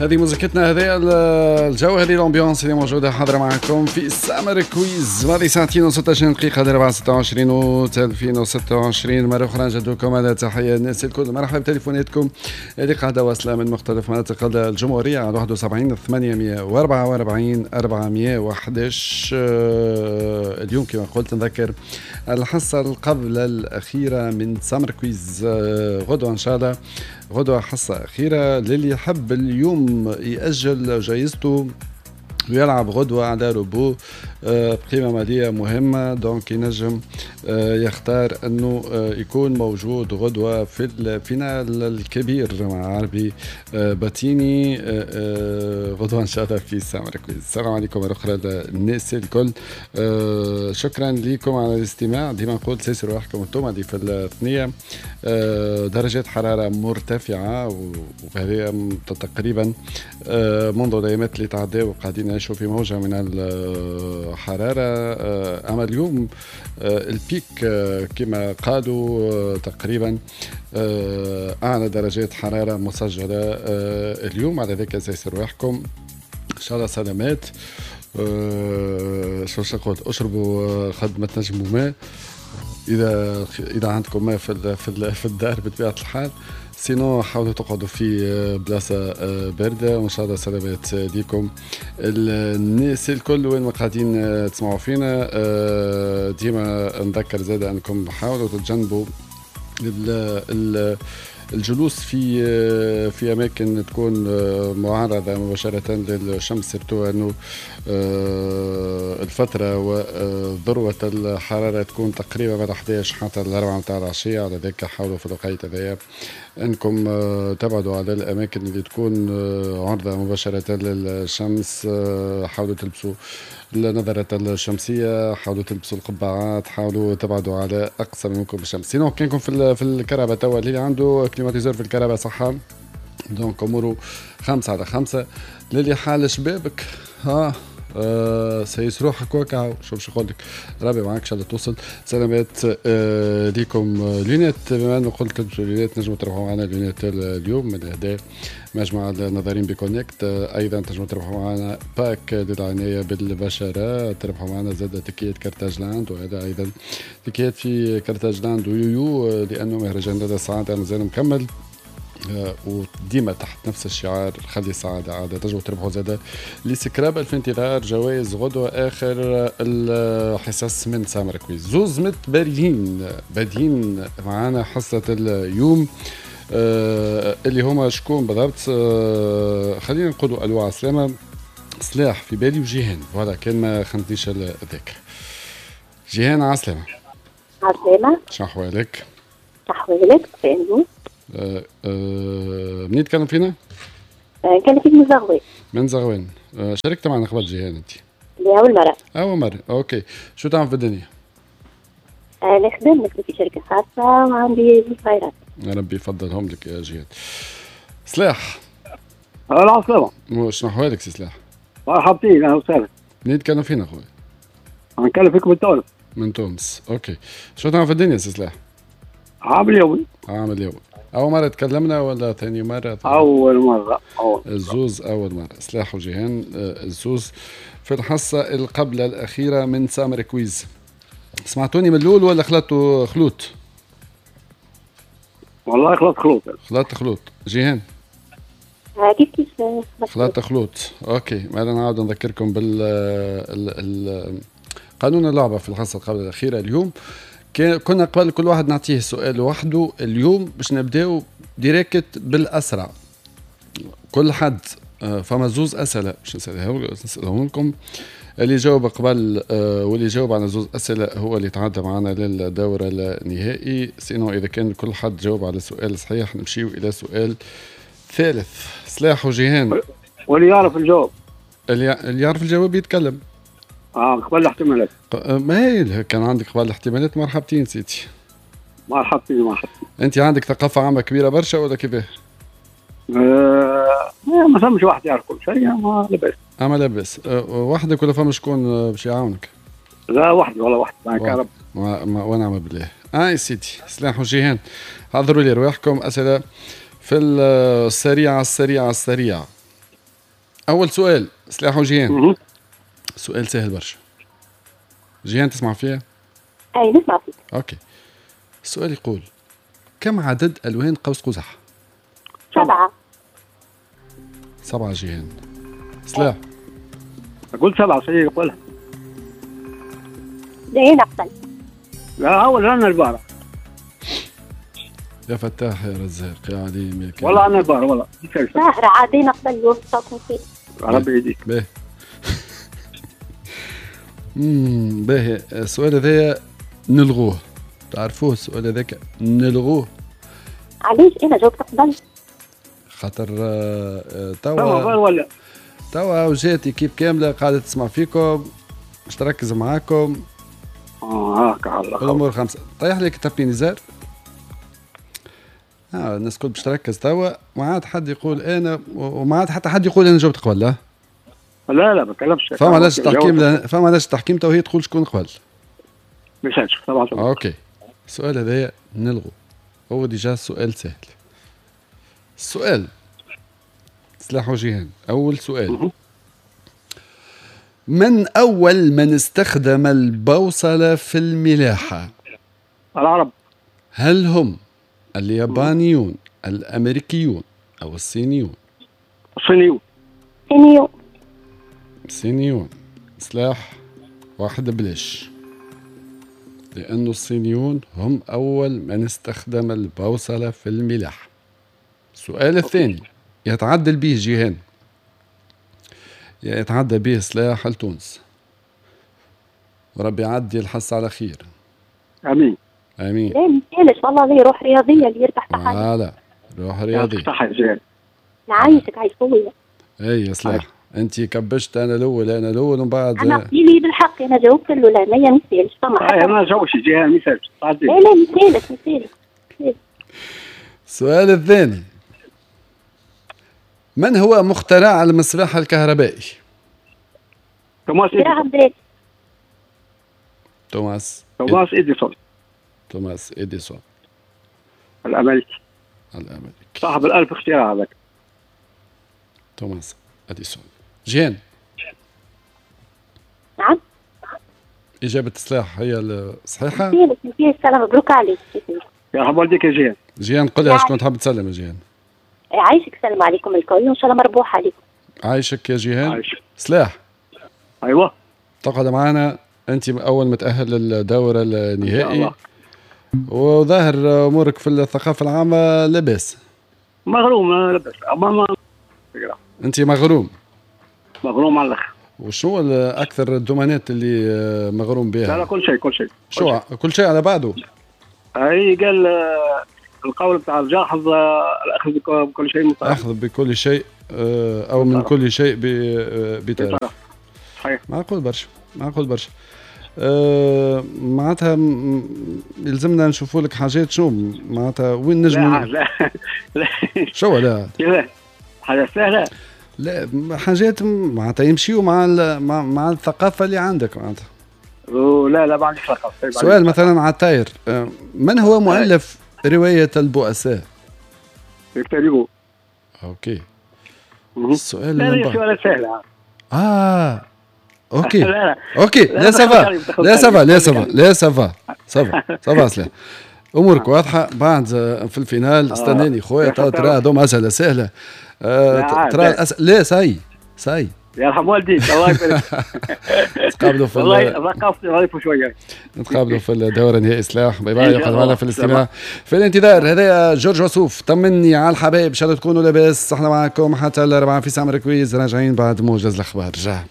هذه موزيكتنا، هذه الجو، هذه l'ambiance اللي موجودة حاضره معكم في Summer Quiz. ماضي ساعتين و16 دقيقة، 4 26 اوت 2026. مرة اخرى نجددلكم على تحية الناس الكل. مرحبا بتليفوناتكم اللي قاعدة واصله من مختلف مناطق الجمهورية على 71 844 411. اليوم كما قلت نذكر الحصة قبل الاخيرة من Summer Quiz. غدوه ان شاء الله، غدوه حصة اخيرة للي يحب اليوم يأجل جايزته ويلعب غدوة على روبو بقيمة مالية مهمة. donc ينجم يختار انه يكون موجود غدوة في ال finale الكبير مع عربي باتيني غدوة ان شاء الله في Summer Quiz. السلام عليكم مرة أخرى للناس الكل. شكرا لكم على الاستماع. ديما نقول سيسروا روحكم انتم اللي في الثنية. درجات حرارة مرتفعة، وهذه تقريبا منذ الأيامات اللي تعداو قاعدين نعيشوا في موجة من الحرارة. أما اليوم ال pic كما قالوا تقريبا أعلى درجات حرارة مسجلة اليوم. على ذلك سيسر روحكم إن شاء الله سلامات. شو نقول، اشربوا قد ما تنجموا ماء اذا عندكم ماء في الدار بطبيعة الحال. sinon حاولوا تقعدوا في بلاصة باردة، وان شاء الله سلامات ليكم الناس الكل وين ما قاعدين تسمعوا فينا. ديما نذكر زاد انكم حاولوا تتجنبوا الجلوس في اماكن تكون معرضه مباشرة للشمس، surtout انه الفترة وذروة الحرارة تكون تقريبا من 11 حتى 4 نتاع العشيه. على ذلك حاولوا في الوقت هذايا انكم تبعدوا على الاماكن اللي تكون عرضه مباشرة للشمس. حاولوا تلبسوا النظارات الشمسيه، حاولوا تلبسوا القبعات، حاولوا تبعدوا على اقصى ما يمكن بالشمس. sinon كانكم في الكرهبة توا، اللي عنده climatiseur في الكرهبة صحة، donc اموره 5 على 5. للي حال شبابك ها سيس روحك وكا شو باش نقول لك، ربي معاك، ان شاء الله توصل سلامات. ليكم lunettes، بما انه قلت تلبسوا lunettes، نجموا تربحوا معنا lunettes اليوم من الاهداء مجمع النظارين بكونكت. ايضا تنجموا تربحوا معنا pack للعنايه بالبشره، تربحوا معنا زاد تكيات كارتاج لاند، وهذا ايضا تكيات في كارتاج لاند ويويو لانه مهرجان لدى السعادة مازال مكمل وديما تحت نفس الشعار خلي السعادة عادة. تنجموا تربحوا زادة les scrubs في انتظار جوائز غدوة آخر الحصص من Summer Quiz. زوز متباريين بادين معانا حصة اليوم اللي هما شكون بالضبط؟ خلينا نقولوا الو عسلامة، سلاح في بالي وجيهان، voilà كان ما خنتنيش الذاكرة. جيهان عسلامة. عسلامة. شنو أحوالك؟ أحوالك بخير. منين تكلم فينا؟ نكلم فيك من زغوان. من زغوان. شاركت معنا قبل جيهان انت؟ لا، أول مرة. أول مرة، OK. شو تعمل في الدنيا؟ نخدم في شركة خاصة وعندي زوج صغيرات. يا ربي يفضلهم لك يا جيهان. سلاح. العسلامة. شنو أحوالك سي سلاح؟ مرحبتين، أهلا وسهلا. منين تكلم فينا خويا؟ نكلم فيك من تونس. من تونس، OK. شو تعمل في الدنيا سي سلاح؟ عامل يومي. عامل يومي. أول مرة تكلمنا ولا ثاني مرة؟ أول مرة، أول. الزوز أول مرة، سلاح وجيهان الزوز في الحصة القبل الأخيرة من Summer Quiz. سمعتوني من الأول ولا خلطوا خلوط؟ والله خلط خلوط. خلط خلوط. جيهان؟ كيف كيف. خلط خلوط، OK. مالا نعاود نذكركم بال قانون اللعبة في الحصة القبل الأخيرة اليوم. كنا قبل كل واحد نعطيه سؤال وحده، اليوم باش نبداو direct بالاسرع. كل حد فما زوز اسئلة باش نسالهم لكم، اللي جاوب قبل واللي جاوب على زوز اسئلة هو اللي تعدى معنا للدور النهائي. sinon اذا كان كل حد جاوب على سؤال صحيح نمشيو الى سؤال ثالث. سلاح وجيهان. واللي يعرف الجواب. اللي يعرف الجواب يتكلم. اه، قبل الاحتمالات. ما هي كان عندك قبل الاحتمالات، مرحبتين سيدي. مرحبتين مرحبتين. انت عندك ثقافة عامة كبيرة برشا ولا كيفاه؟ ما فماش واحد يعرف كل شيء، ما لاباس. اما لاباس. وحدك ولا فما شكون باش يعاونك؟ لا، وحدي والله، وحدي معك يا رب. ونعم بالله. اه سيدي سلاح وجيهان، حضروا لي رواحكم، اسئلة في السريعة السريعة السريعه. اول سؤال سلاح وجيهان. سؤال سهل برشا. جيهان تسمع فيها؟ اي نسمع فيك. OK. السؤال يقول كم عدد الوان قوس قزح؟ 7. 7 جيهان. سلاح. قلت 7 صحيح يقولها. لا انا قبل. لا اول انا البارح. يا فتاح يا رزاق يا عليم يا كريم. والله انا البارح والله. ساهرة عادينا قبل يوصلكم فيه. ربي يهديك. باهي. باهي السؤال هذايا نلغوه. تعرفوه السؤال هذاك نلغوه. علاش انا جاوبت قبل؟ خاطر توا توا وجات équipe كاملة قاعدة تسمع فيكم باش تركز معاكم. هاكا الله. الامور خمسة. طيح لك tapis نزار. الناس الكل باش تركز توا، ما عاد حد يقول انا، وما عاد حتى حد يقول انا جاوبت قبل. لا لا لا ما تكلمش. فما علاش التحكيم، فما علاش التحكيم تو هي تقول شكون قبل. ما يسالش طبعا. OK السؤال هذايا نلغو، هو déjà سؤال سهل. السؤال سلاح وجيهان، اول سؤال. من اول من استخدم البوصلة في الملاحة؟ العرب. هل هم اليابانيون، الامريكيون، او الصينيون؟ الصينيون. الصينيون. الصينيون. سلاح واحد بلاش، لأن الصينيون هم أول من استخدم البوصلة في الملاحة. السؤال الثاني يتعدل به جيهان، يتعدى به سلاح لتونس، وربي يعدي الحصة على خير. آمين آمين. لا مثالش والله لي روح رياضية اللي يربح تحية. لا روح رياضية. صحيح جيهان. نعيشك عايش خويا. اي يا سلاح انت كبشت انا الاول انا الاول ومن بعد انا قليلي بالحق انا جاوبت له لا ما مثالش فما حتى ما جاوبش جيهان مثالش. لا لا مثالش مثالش. السؤال الثاني، من هو مخترع المصباح الكهربائي؟ توماس إديسون. توماس إديسون. توماس إديسون الأمريكي. الأمريكي صاحب الألف اختراع هذاك. توماس أديسون. جيهان. نعم. إجابة السلاح هي الصحيحة. السلام مبروك عليك. يرحم والديك يا جيهان. جيهان قل لي شكون تحب تسلم يا جيهان؟ عايشك، سلام عليكم الكل وإن شاء الله مربوح عليكم. عايشك يا جيهان. عايشك. سلاح. أيوه. تقعد معنا أنت أول متأهل للدور النهائي. وظاهر أمورك في الثقافة العامة لاباس. مغروم لاباس. ما أنت مغروم. مغروم على الآخر. وشو أكثر الدومانات اللي مغروم بها؟ لا لا كل شيء كل شيء. شو كل شيء على بعضه؟ أي قال القول بتاع الجاحظ الأخذ بكل شيء مطرف. أخذ بكل شيء أو من كل شيء بطرف. صحيح. معقول برشا، معقول برشا. معناتها يلزمنا نشوفوا لك حاجات شو معناتها وين نجم. لا لا شو لا لا حاجة سهلة. لا حاجات معناتها يمشيوا مع مع الثقافة اللي عندك معناتها. لا لا ما عنديش ثقافة. سؤال مثلا على الطاير، من هو مؤلف رواية البؤساء؟ فيكتور هوغو. OK. السؤال لا سؤال سهل. OK لا لا. OK لا ça va لا ça va لا ça va لا ça va ça va ça va سلاح امورك واضحة. بعد في ال finale استناني خويا ترى هذوما اسئلة سهلة. ترى لا ça y est ça y est يرحم والديك الله يبارك. نتقابلوا في والله ثقافتي ضعيفة شوية. نتقابلوا في الدورة النهائي سلاح. bye bye، يقعد معنا في الاستماع في الانتظار. هذا جورج وسوف طمني على الحبايب، ان شاء الله تكونوا لاباس. احنا معكم حتى الأربعة في سامر quiz، راجعين بعد موجز الاخبار. رجع.